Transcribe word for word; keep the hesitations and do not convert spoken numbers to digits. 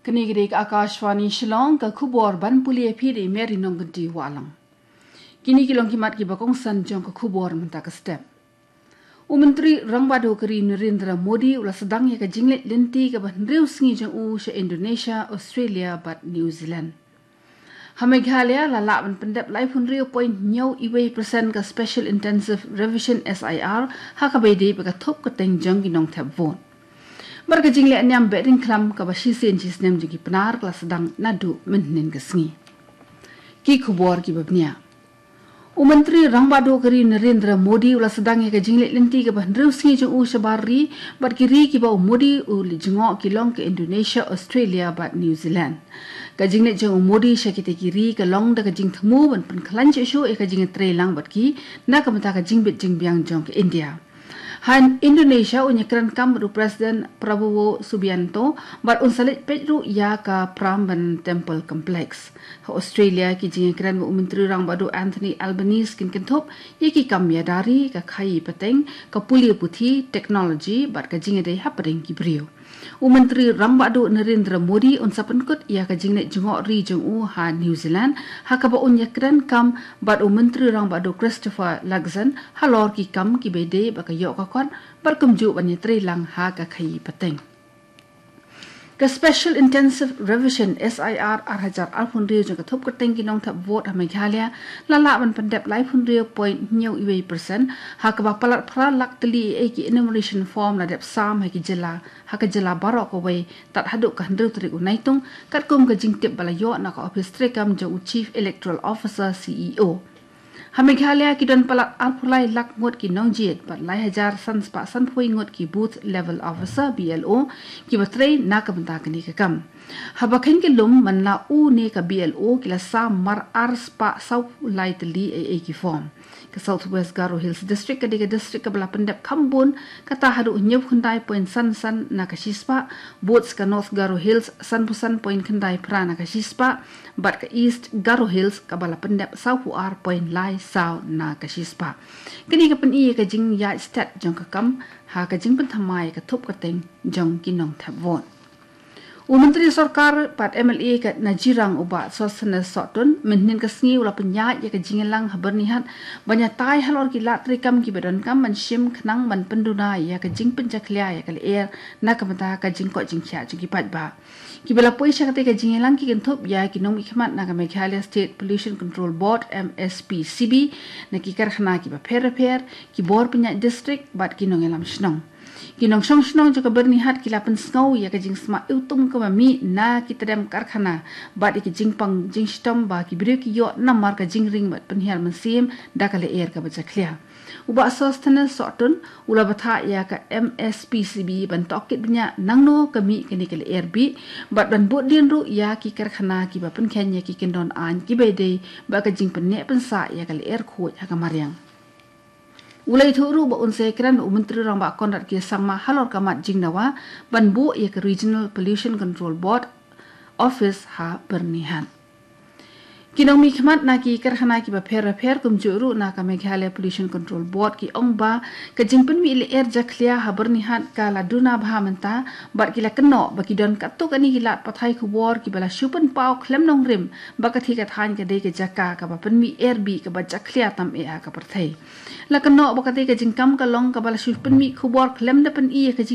Kane ka dei ka Akashvani Shillong, ka khubor ban pule ïa phi da i Mary Nongkynti Wahlang. Kine ki long ki mat kiba kongsan jong ka khubor mynta ka step. U Myntri Rangbah Duh ka ri Narendra Modi u la sdang ïa ka jingleit lynti kaba hynriew sngi jong u sha Indonesia, Australia bad New Zealand. Ha Meghalaya la lah ban pyndep laiphew hynriew point hynñiew wei percent ka Special Intensive Revision, S I R, ha kaba ïadei bad ka thup kyrteng jong ki nongthep vote. Bad ka jingleh niam Behdeiñkhlam kaba shisien shisnem jong ki Pnar ka la sdang naduh mynhynnin ka sngi. Ki khubor kiba bniah. U Myntri Rangbah Duh ka ri Narendra Modi u la sdang ïa ka jingleit lynti kaba hynriew sngi jong u shabar ri, bad ki ri kiba u Modi u leit jngoh ki long ka Indonesia, Australia bad New Zealand. Ka jingleit jong u Modi sha kita ki ri ka long da ka jingthmu ban pynkhlaiñ shuh shuh ïa ka jingïatreilang bad ki na ka bynta ka jingbit jingbiang jong ka India. Ha Indonesia un ïakren kam bad u President Prabowo Subianto bad un sa leit peit ruh ïa ka Prambanan Temple Complex. Ha Australia ki jingïakren bad u Myntri Rangbah Duh Anthony Albanese kin kynthup ïa ki kam ïada ri, ka khaïi pateng, ka pule puthi, technology bad ka jingïadei hapdeng ki briew. U Myntri Rangbah Duh Narendra Modi un sa pynkut ïa ka jingleit jngoh ri jong u ha New Zealand, ha kaba un ïakren kam bad u Myntri Rangbah Duh Christopher Luxon halor ki kam kiba ïadei bad ka ïoh ka kot bad kumjuh ban ïatreilang ha ka khaïi pateng. Ka Special Intensive Revision, S I R, ar hajar arphew hynriew jong ka thup kyrteng ki nongthep vote ha Meghalaya la lah ban pyndep laiphew hynriew point hynñiew wei percent, ha kaba palat phra lak tylli ei ei ki enumeration form la dep sam ha ki jylla, ha ka jylla baroh kawei tad haduh ka hynriew tarik u Naitung, katkum ka jingtip ba la ïoh na ka ophis treikam jong u Chief Electoral Officer, C E O. Ha Meghalaya ki don palat arphew lai lak ngut ki nongjied bad lai hajar san spah sanphew ngut ki Booth Level Officer, B L O, kiba trei na ka bynta kane ka kam. Haba kheiñ ka lum, man la u ne ka B L O ki la sam mar ar spah saw lai tylli ei ei ki form. Ka South West Garo Hills District ka dei ka district kaba la pyndep kham bun, kata haduh hynñiewphew khyndai point san san na ka shispah, bad ka North Garo Hills sanphew san point khyndai phra na ka shispah, bad ka East Garo Hills kaba la pyndep sawphew ar point lai saw na ka shispah. Kane ka pyni ïa ka jingïaid stet jong ka kam ha ka jingpynthymmai ïa ka thup kyrteng jong ki nongthep vote. U Myntri Sorkar bad M L A ka Najirang u Bah Sosthenes Sohtun mynhynnin ka sngi u la pynïaid ïa ka jingïalang ha Byrnihat ban ïatai halor ki lad treikam kiba donkam ban shim khnang ban pynduna ïa ka jingpynjakhlia ïa ka lyer na ka bynta ka jingkoit jingkhiah jong ki paidbah. Kiba la poi sha katei ka jingïalang ki kynthup ïa ki nongmihkhmat na ka Meghalaya State Pollution Control Board, M S P C B, na ki karkhana kiba pher bapher, ki bor pynïaid district bad ki nongïalam shnong. Ki nongshong shnong jong ka Byrnihat ki la pynsngew ïa ka jingsma iwtung kaba mih na kita ki karkhana bad ïa ka jingpang jingshitom ba ki briew ki ïoh namar ka jingring bad pynhiar mynsiem da ka lyer kaba jakhlia. U Bah Sosthenes Sohtun u la bthah ïa ka M S P C B ban tohkit bniah nangno ka mih kane ka lyer bih bad ban buddien ruh ïa ki karkhana kiba pynkheiñ ïa ki kyndon aiñ kiba ïadei bad ka jingpynneh pynsah ïa ka lyer khuid ha ka mariang. U la ïathuh ruh ba un sa ïakren bad u Myntri Rangbah Conrad K Sangma halor ka mat jingdawa ban buh ïa ka Regional Pollution Control Board Office ha Byrnihat. Ki nongmihkhmat na ki karkhana kiba pher bapher kumjuh ruh na ka Meghalaya Pollution Control Board ki ong ba ka jingpynmih lyer jakhlia ha Byrnihat ka la duna bha mynta bad ki la kynnoh ba ki don katto katne ki lad pathai khubor kiba la shu pynpaw khlem nongrim ba ka thikna ka dei ka jaka kaba pynmih lyer bih kaba jakhlia tam eh ha ka pyrthei. La kynnoh ba katei ka jingkam ka long kaba la shu pynmih khubor khlem da pyni ïa ka jing